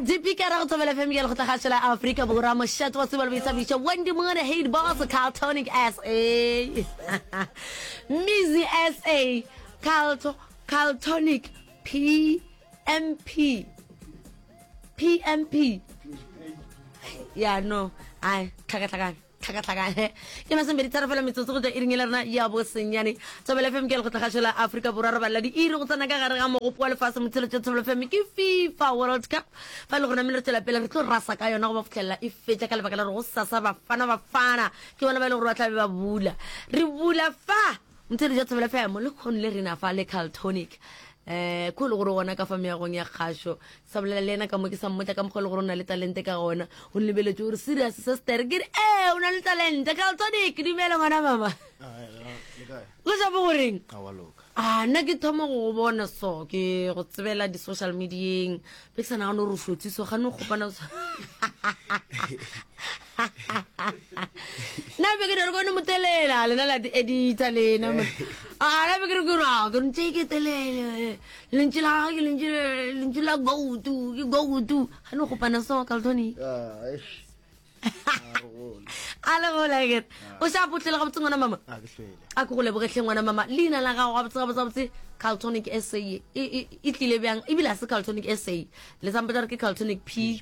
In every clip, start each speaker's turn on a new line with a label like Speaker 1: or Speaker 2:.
Speaker 1: Dipikara go Thobela FM ya Lekgotlakgašo la Afrika Borwa, mošate wa tsebo le boithabišo, Wendy Moore, Hate Boss, Carltonic SA, Mizi SA, Carlto, Carltonic PMP, PMP. Ya no, ai, tlhakatlhakane. tlhakatlhakane ke masomepedi tharo fela metsotso go tswa iring e le rena ya bosenyane thobela fm ke lekgotlakgašo la aforika borwa re balela diiri go tsena ka gare ga mogopo wa lefase motsheletšo thobela fm ke fifa world cup fa e le gore namile re tswela pele re tlo rasa ka yona go ba fitlhelela e fetša ka lebaka la gore go sasa bafana bafana ke bona ba e le gore ba tlabe ba bula re bula fa motsheletšo thobela fm le kgone le rena fa le caltonic eh ko le gore gona ka fa meagong ya kgašo sa bolela le yena ka mo ke sa mmotla ka mokgwa le gore o na le talente ka gona o nlebeletše gore serious sister ke re ee o na le talente caltonic dumela ngwana mama go japo goreng a nna ke thoma go go bona so ke go tsebela di-social medieng be ke sa nagane gore o hlotse so gane o kgopana nna be ke re kone motelela lena la di-editor lena a na be ke re ke re ke ntse ke telele Lentšu la gagwe ke lentšu lentšu la goutu, ke goutu. Ga no gopana so Carltoni.
Speaker 2: Ah, eish. A re gole.
Speaker 1: A le gola ke. O sa potlele gabotse ngwana mama.
Speaker 2: A ke hlwele.
Speaker 1: A ke go lebogetlhe ngwana mama. Leina la gago gabotse gabotse gabotse Carltonic SA e e e tlile bjang? Ebile a se Carltonic SA. Le sampotsa re ke Carltonic P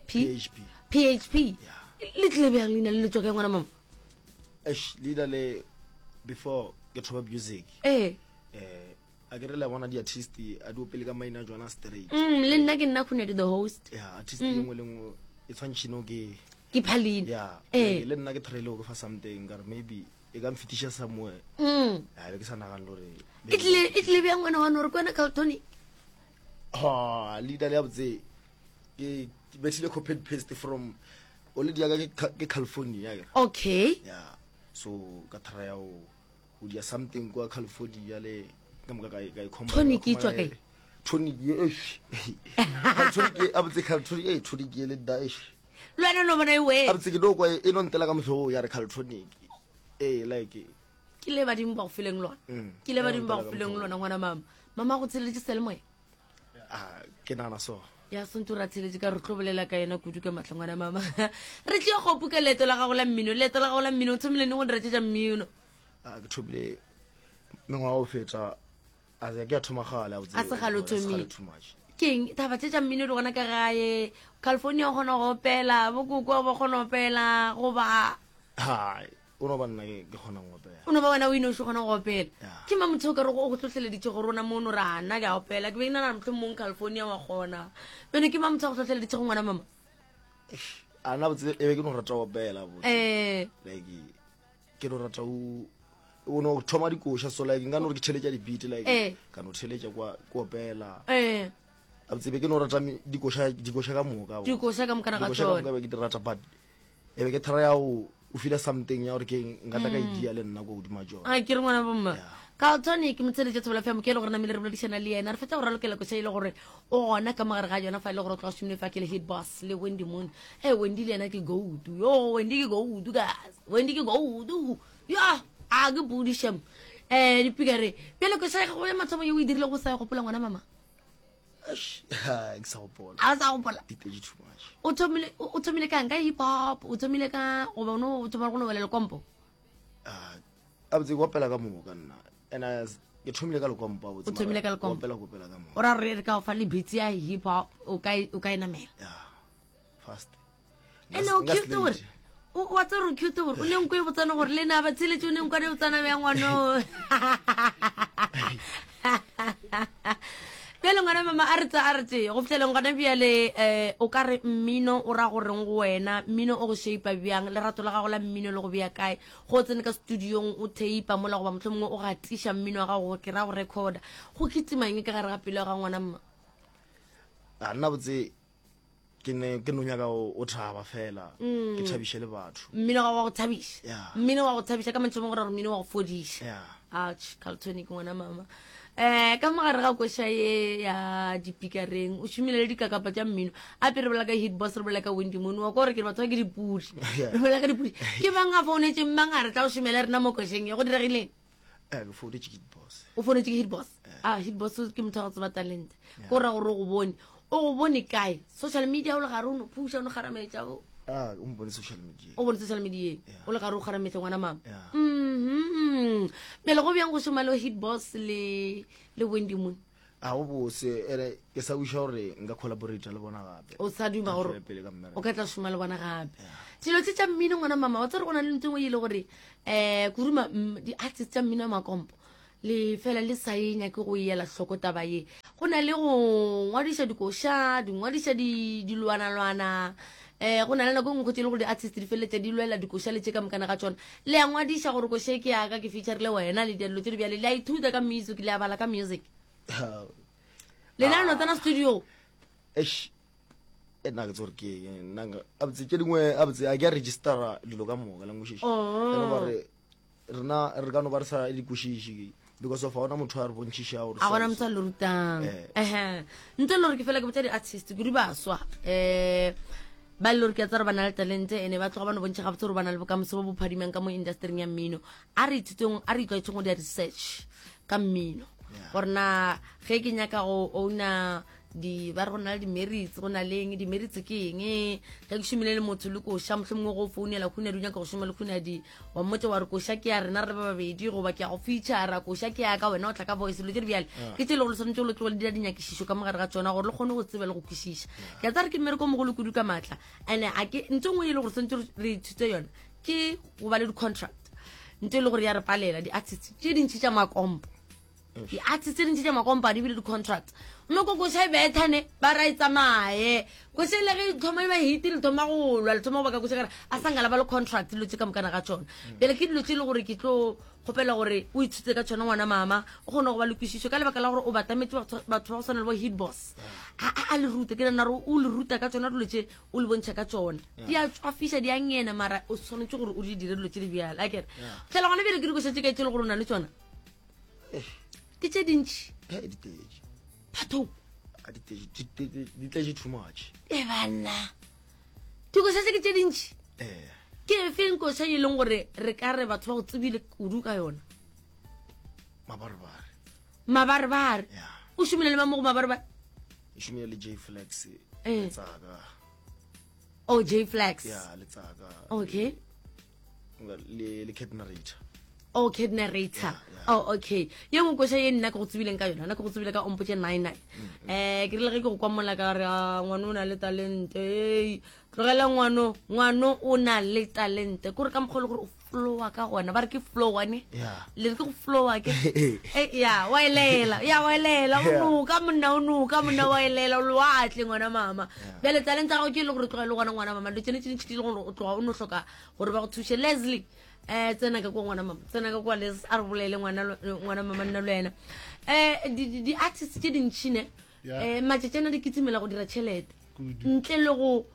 Speaker 1: P
Speaker 2: PHP.
Speaker 1: PHP.
Speaker 2: Yeah.
Speaker 1: Le tlile bjang leina le le tswa kae ngwana mama?
Speaker 2: Eish, leina le before ke thoma music.
Speaker 1: Eh.
Speaker 2: Eh a ke re le bona di-artist a di opele ka maina a jona straight
Speaker 1: mm, le nna ke nna khunedi the host
Speaker 2: ya artist mm. e nngwe le nngwe e tshwantšhino ke
Speaker 1: ke phalina
Speaker 2: ya eh. le nna ke threle go fa something ka re maybe e ka mfetiša somewhere
Speaker 1: mm.
Speaker 2: ya be ke sa nagane gore
Speaker 1: e tlile e tlile bjang ngwana wa gore ke wena carltonic
Speaker 2: ha leader le ya botse ke bethile copy and paste from o le diaka ke california
Speaker 1: okay
Speaker 2: ya so ka try ya o o dia something kwa california le ka moka ka ka e
Speaker 1: tonic e tswa kae
Speaker 2: tonic ye eish tonic ye abotse tonic e tonic ye le da eish
Speaker 1: le wena no bona e we
Speaker 2: abotse ke no kwa e no ntela ka motlhogo ya re caltonic eh like
Speaker 1: ke le badimo ba go fileng lona
Speaker 2: mm.
Speaker 1: ke le badimo ba go fileng lona ngwana mama mama go tsheleditse selemoya
Speaker 2: ah, ke nagana so
Speaker 1: ya sentse ra tsheletše ka re tlo bolela ka yena kudu ka matlho ngwana mama re tlio gopu ka leeto la gago la mmino leeto la gago la mmino o thomile ne go dira tše tša mmino
Speaker 2: a ke thomile mengwaga o feta a ke a thoma gale
Speaker 1: a se gale o thomile keng taba tše tša mmino di gona ka gae california o kgona go opela bokoko ba kgona go opela goba
Speaker 2: hai o no ba nna ke kgona go opela
Speaker 1: o no ba wena o inoši kgona go opela ke ma motho o ka re go tlhotlheleditše gore rona mono ra nna ke a opela ke be ke nana motlho mong california wa kgona bene ke ma motho a go tlhotlheleditše go ngwana mama
Speaker 2: a nna botse e be ke no rata go opela botse
Speaker 1: eh.
Speaker 2: like ke no rata o o no thoma dikoša so like nka no re ke theletša di-beat like
Speaker 1: eh.
Speaker 2: ka no theletša kwa ke opela
Speaker 1: eh.
Speaker 2: a botse be ke no rata dikoša dikoša ka moka
Speaker 1: dikoša ka moka ga
Speaker 2: dikoša ka moka be ke di rata but e be ke thara ya o o feel something ya gore ke nka tla ka mm. idea le nna ko godima jona
Speaker 1: a ke re ngwana bomma carlton ke motsheletše thobela fm ke e le gore namile re boledišana le yena re fetsa go ralokela koša e le gore o gona ka mogare ga yona fa e le gore o tloga šomile fa ke le hit boss le wendy moon e wendy le yena ke goutu yo wendy ke goutu guys wendy ke goutu ya a ke pudi shem um dipikare bjale koša ya gago ya mathomo ye o e dirile go sa e gopola ngwana mama
Speaker 2: ke sa gopola
Speaker 1: a sa gopola
Speaker 2: di tletše too much
Speaker 1: o thomile o thomile kang ka hip hop o thomile ka goba o no o thoma go no wela lekompo
Speaker 2: ah, a botse ke opela ka moka nna and ke thomile ka lekompo
Speaker 1: o thomile ka lekompo
Speaker 2: opela go opela ka moka
Speaker 1: o ra re re ka o fa le beats ya hip hop o ka e, o ka e namela
Speaker 2: yeah fast
Speaker 1: ene o cute gore wa tsere o cute gore o ne nko e botsana gore le na ba tsheletše o ne nkwane botsana bja ngwano bjale ngwana mama a re tse a re tse go fitlheleng gona bjale um o ka re mmino o ra goreng go wena mmino o go shape bjang lerato la gago la mmino le go bea kae go tsene ka studiong o teipa mola goba motlho mongwe o gatiša mmino wa gago ke ra go recorda go kitimang ka gare ga pelo ya ga ngwana mma
Speaker 2: a nna botse ke ne ke no nyaka o thaba fela mm. ke thabiše le batho
Speaker 1: mmino wa go thabiša mmino wa go thabiša ka mantšu gore mmino wa go fodiša ouch carltonic ngwana mama eh ka mogare ga koša ye ya dipikareng o šomile le dikakapa tša mmino a pe re bolela ka hit boss re bolela ka wendy moon wa ko gore ke batho ba ke dipudi re bolela ka dipudi ke mang a founetseng mang a re tla o šomela rena mo košeng ye go diregileng
Speaker 2: Eh, ke founetše ke hit boss
Speaker 1: o founetše ke hit boss a ah, hit boss ke motho wa go tseba talente ko ra gore o go bone O go bone kae? Social media o le gare o no phuša o no kgarametša o.
Speaker 2: Ah, o mpone social media.
Speaker 1: O bone social media. O le gare o kgarametša ngwana mama.
Speaker 2: Yeah.
Speaker 1: Mhm. Bjale go bjang go šoma le Hit Boss le le Wendy Moon?
Speaker 2: A go bose ere ke sa wiša gore nka collaborate le bona gape.
Speaker 1: O sa duma
Speaker 2: Ka
Speaker 1: gore
Speaker 2: tšwela pele ka mmereko.
Speaker 1: o ka tla šoma le bona gape. Dilo tse tša mmino ngwana mama wa tsere go na le ntho e nngwe e le gore eh kuruma di-artist tša mmino wa makompo Le fela le sa e nyake go e ela hloko taba ye. Go na le go ngwadiša dikoša, di ngwadiša di, dilwanalwana. Eh, go na le nako e nngwe tše e le gore di-artist di feleletša di lwela dikoša le tše ka mokana ga tšona. Le a ngwadiša gore koša e ke yaka, ke featurile wena le dilo tše di bjale. Le a ithuta ka music, le a bala ka music. Lena le no tsena studio.
Speaker 2: Eish, e nna ke tse gore ke eng, nna nka, abotse tše dingwe, abotse a ke a registera dilo ka moka, la nkwešiša.
Speaker 1: Oh.
Speaker 2: E no ba re, rena re ka no ba re sa di kwešiše because of ga ona motho a re bontšhišago
Speaker 1: a gona motho a le rutang
Speaker 2: Eh.
Speaker 1: ehe ntle le gore ke fela ke botsa di-artist kudu baswa um ba le gore ke a tsa gore ba na le talente ene ba tloga ba no bontšha gabotse gore ba na le bokamoso bo bo phadimang ka mo industryng ya mmino a re ithuteng a re itlwaetseng go dira research ka mmino gore na ge ke nyaka go owna di ba re go na le di-merits go na le eng di-merits ke eng ge ke šomile le motho le koša motlho mongwe go founela khunadi o nyaka go šoma le khunadi wa mmotsa wa re koša ke ya rena re le ba babedi goba ke ya go feature koša ke ya ka wena o tla ka voice dilo tse di bjale ke tse e le gore le swanetse le tloge le dira dinyakišišo ka mogare ga tsona gore le kgone go tseba le go kwešiša ke a tsa re ke mmereko o mogolo kudu ka maatla and-e a ke ntho e nngwe e le gore swanetse re ithute yona ke go ba le di-contract ntho e le gore ya re palela di-artist tše dintšhi tša makompo di-artist tse dintši tša makompa di bile di-contract mme ko koša e bethane ba ra e tsamaye koša e le ge e thoma e ba hiti le thoma go lwa le thoma go baka koša kare a sa nkala ba le contract dilo tse ka mokana ga tsona bjale ke dilo tse e le gore ke tlo kgopela gore o ithute ka tsona ngwana mama o kgone go ba le kwešišo ka lebaka la gore o batametse batho ba go tshwana le bo hit boss a a le rute ke nana gore o le ruta ka tsona dilo tse o le bontšha ka tsona di a tswafiša di a ngena mara o tshwanetse gore o di dire dilo tse di bjale a kere fela gona bjale ke dikoša tse kae tse e le gore o na le tsona Ke tše dintši.
Speaker 2: He, di tletše.
Speaker 1: Batho.
Speaker 2: A di tletše, di tletše, di tletše too much.
Speaker 1: E banna. Dikoša tše ke tše dintši.
Speaker 2: Eh.
Speaker 1: Ke efeng koša e leng gore re ka re batho ba go tsebile kudu ka yona?
Speaker 2: Mabarebare.
Speaker 1: Mabarebare.
Speaker 2: Yeah.
Speaker 1: O šomile le mang mo go mabarebare?
Speaker 2: Ke šomile le J Flex.
Speaker 1: Eh.
Speaker 2: Letsaka.
Speaker 1: Oh, J Flex.
Speaker 2: Yeah, Letsaka.
Speaker 1: Okay.
Speaker 2: le le cat narrator
Speaker 1: oh cat narrator
Speaker 2: Yeah, yeah.
Speaker 1: oh okay ye nngwe koša ye nna ke go tsebileng ka yona nna ke go tsebile ka ompotše 99
Speaker 2: Mm,
Speaker 1: eh ke rile ge ke go kwa mola ka re "Ah, ngwano o na le talente ei tlogela ngwano ngwano o na le talente kore ka mokgwa e le gore o flowa ka gona ba re ke flow wane
Speaker 2: Yeah.
Speaker 1: le re ke go flowa ke Eh, ya wa elela ya wa elela o
Speaker 2: Yeah.
Speaker 1: noka monna o noka monna wa elela o lewatle ngwana mama bjale talente ya gago ke e le gore tloga e le gona ngwana mama dilo tsene tse dintšhi di le gore o tloga o no hloka gore ba go thuše leslie um tsena ka kwa ngwana mama tsena ka kwa les a re bolele ngwana ngwana mama nna le wena um di-artist tše dintšhine um matšatši ana di kitsimela go dira tšhelete ntle le go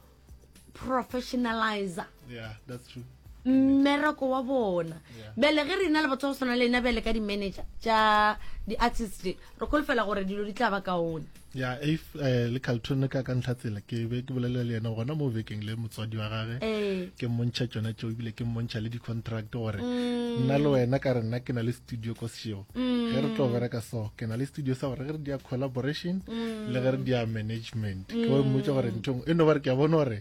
Speaker 1: professionalizer
Speaker 3: yeah, that's true
Speaker 1: mmereko wa bona bjale ge re na le batho ba go tshwana le ena bjale ka di-manager tša di-artist re kholofela gore dilo di tla ba kaone
Speaker 3: ya if eh, le carlton ka ka ntlha tsela ke be ke bolela le yena gona mo bekeng le motswadi wa gage
Speaker 1: ee.
Speaker 3: ke mmontšha tšona tšeo ebile ke mmontšha le di-contract gore mm. nna le wena ka re nna ke na le studio ko sešego mm. ge re tlo bereka so ke na le studio sa gore ge re dia collaboration mm. le ge re dia management ke mmotsa gore nthong e no ba re ke a bona gore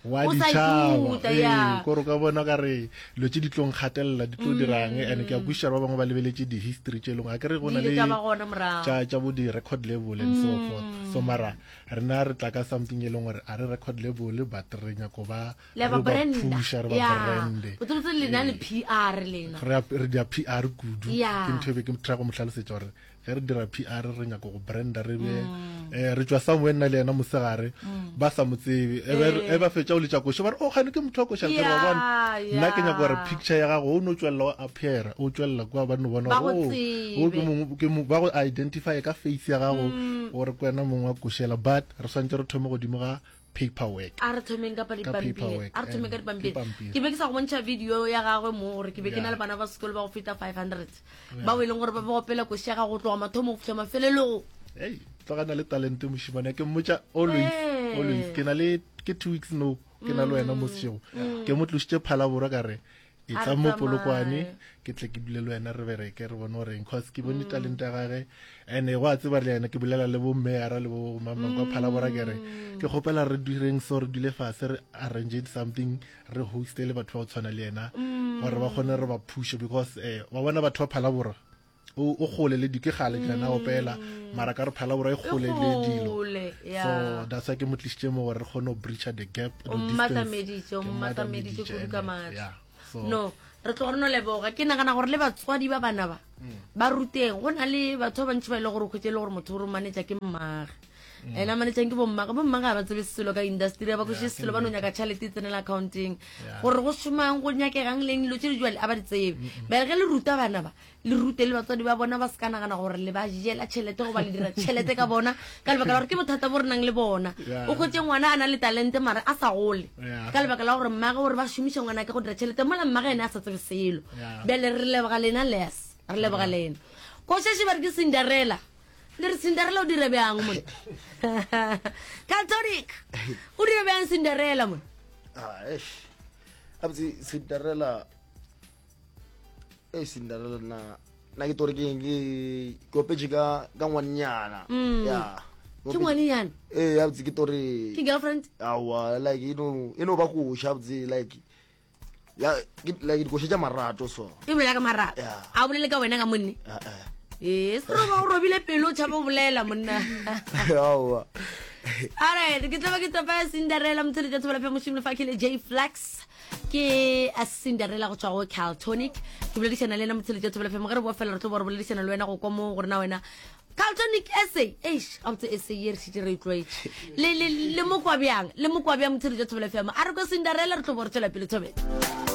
Speaker 3: wa
Speaker 1: O sa
Speaker 3: ditšhaba
Speaker 1: ithuta,
Speaker 3: ee
Speaker 1: ya.
Speaker 3: kore o ka bona ka re dilo tse di tlong gatelela di tlo dirang and ke a kwešiša ba bangwe ba lebeletše di-history tše e leng a kere go
Speaker 1: Di
Speaker 3: na
Speaker 1: ile
Speaker 3: le
Speaker 1: tša ba gona morago.
Speaker 3: tša tša bo di-record label and so forth so mara rena re tla ka something e leng gore a re record label but re nyako ba
Speaker 1: Le ba
Speaker 3: re ba
Speaker 1: branda.
Speaker 3: pusha re ba
Speaker 1: Ya.
Speaker 3: brande
Speaker 1: Botsebotse lena le PR lena.
Speaker 3: re a- re dia PR kudu
Speaker 1: Ya.
Speaker 3: ke ntho e be ke try go mo hlalosetša gore ge re dira PR re nyaka go branda re be mm. eh, re tšwa somewhere nna le yena mosegare mm. ba sa mo tsebe e e ba fetša o letša koša ba re o oh, gane ke motho wa koša ke ba bona nna ke nyaka gore picture ya gago o no tšwelela o appear o tšwelela kwa ba no bona gore oh, o ke mongwe ke ba go identify ka face ya gago mm. gore ke wena mongwe wa košela but re swantse re thome godimo ga paperwork
Speaker 1: a re thomeng ka dipampiri a re thomeng ka dipampiri ke be ke sa go bontšha video ya gagwe mo gore ke be ke na le bana ba sekolo ba go feta 500 bao e leng gore ba ba opela koši ya gago go tloga mathomo go fitlha mafelelong
Speaker 3: ei tlogana le talente mošimane ke mmotša always always ke na le ke two weeks no ke na le wena mo sešego ke mo tlošitše phalaborwa ka re E tla mo Polokwane ke tle ke dule le wena re bereke re bone goreng cause ke bone mm. talente ya gage and go a tseba le yena ke bolela le bo mmeyara le bo mamang kwa phalabora ke re mm. ke kgopela re direng so re dule fase re arrange something re hoste le batho ba go tshwana le yena mm. gore ba kgone re ba phushe because eh wa bona batho ba phalabora o o gole le di ke gale ke na opela mara ka re phalabora e gole le dilo so that's why ke mo tlisitše mo gore re kgone go breacha the gap
Speaker 1: the distance mmatameditše o mmatameditše kudu ka matla no re tloga re no leboga ke nagana gore le batswadi ba bana ba mm. ba ruteng go na le batho ba bantši ba e le gore o kgwetse e le gore motho o romanetša ke mmage mm. ena manetšang ke bommage bommage ga ba tsebe selo ka industry ba kweše selo ba no nyaka tšhalete e tsenela accounting gore go šomang go nyakegang leng dilo tše di jale a ba di tsebe bjale ge le ruta bana ba le rute le batswadi ba bona ba se ka nagana gore le ba jela tšhelete goba le dira tšhelete ka bona ka lebaka la gore ke bothata bo re nang le bona o kgwetse ngwana a na le talente mare a sa gole ka lebaka la gore mmage gore ba šomiša ngwana ke go dira tšhelete mola mmage ene a sa tsebe selo bjale re leboga lena les re leboga lena košeše ba re ke cinderella le re cinderella o dire bjang mone catholic o dire bjang cinderella mone
Speaker 2: ah, cinderella e Cinderella nna nna ke tore ke ke ke opetše ka ka ngwannyana mm. ya
Speaker 1: ke ngwannyana
Speaker 2: ee ya botse ke tore
Speaker 1: ke girlfriend
Speaker 2: awa like e no e no ba koša botse like ya ke like dikoša tša marato so
Speaker 1: e bolela ka marato a bolele ka wena ka monne ee se roba o robile pelo o tšhaba o bolela monna
Speaker 2: aowa
Speaker 1: alright ke tla ba ke topa cinderella motshele tša thobela phe mošomo lefakhele j flex ke a cinderella go tšwa go caltonic ke boledišana le ena motsheletša thobela fm ge re boa fela re tlo bo re boledišana le wena go kwa mo gore na wena caltonic essay eish gabotse essay ye re šitše re e tlwaetše le, le, le mokwa bjang le mokwa bjang motsheletša thobela fm a re kwa cinderella re tlo bo re tšwela pele thobela.